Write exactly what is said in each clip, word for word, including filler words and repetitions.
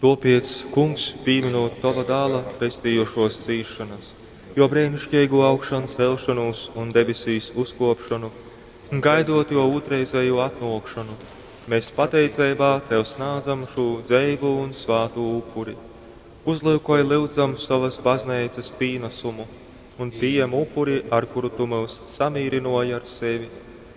Tuopiec, Kungs, pīminūt Tova Dāla pestījošuos cīsšonas, Juo breiniškeigū augšancelšonūs un debesīs uzkuopšonu, un gaidot Juo ūtrreizejū atnuokšonu, mēs pateiceibā Tev snādzam šū dzeivū un svātū upuri. Uzlyukoj, lyudzam, sovas bazneicas pīnasumu un pījem upuri, ar kuru Tu myus samīrynuoji ar sevi,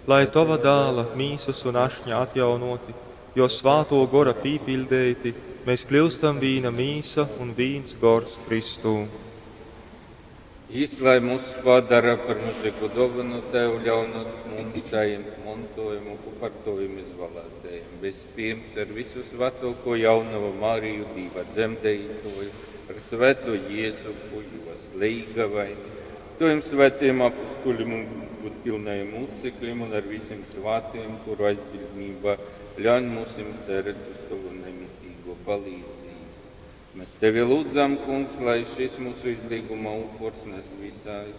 lai Tova Dāla mīsas un ašņa atjaunoti, Juo Svātuo Gora pīpiļdeiti, mēs kļūstam vīna mīsa un vīns gors Kristū. Jis, lai mūs padara par mūžīgu dōvanu Tev, ļaunot mums sajimt montojumu kopā ar Tavim izvēlētajiem. Vispirms ar visu svētāko jaunavu Mariju, Dīva dzemdētāju, ar svēto Jēzupu, Jos leigavaini, Tavim svētajiem apustuļiem un gudpilnajiem mūcekļiem un ar visiem svētajiem, kuru aizbildnībā ļauj mums cerēt uz Tavu nemitīgo palīdzību. Mēs Tevi lūdzam, Kungs, lai šis mūsu izlīguma upurs nes visai,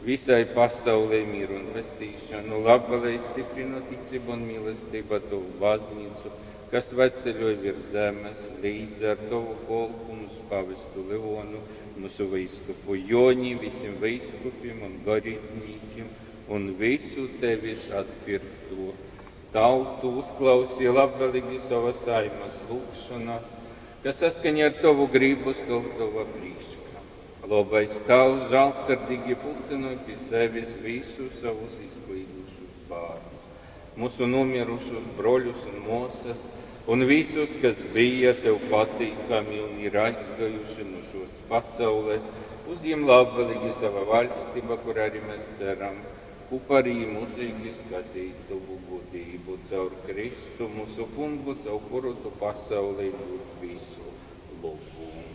visai pasaulē mieru un pestīšanu, labvēlīgi stiprina ticību un mīlestību Tavu baznīcu, kas veceļoja virs zemes, līdz ar Tavu kolpu, mūsu pavestu Leonu, mūsu vīskupu Joni, visiem vīskupiem un garīdzniekiem un visu Tevis atpirkto tautu uzklausīja labvēlīgi savas saimas lūgšanas, kas saskaņā ar Tavu gribu stāv Tava priekšā. Labais Tavs žēlsirdīgi pulcināja pie sevis visus savus izklīdušus bērnus, mūsu nomirušus broļus un māsas, un visus, kas bija Tev patīkami un ir aizgājuši no šos pasaules, uzņem labvēlīgi sava valstība, kur arī mēs ceram, kopā arī mūžīgi skatīt Tavu godību caur Kristu, mūsu kungu, caur kuru Tu pasaulē dod visu labumu.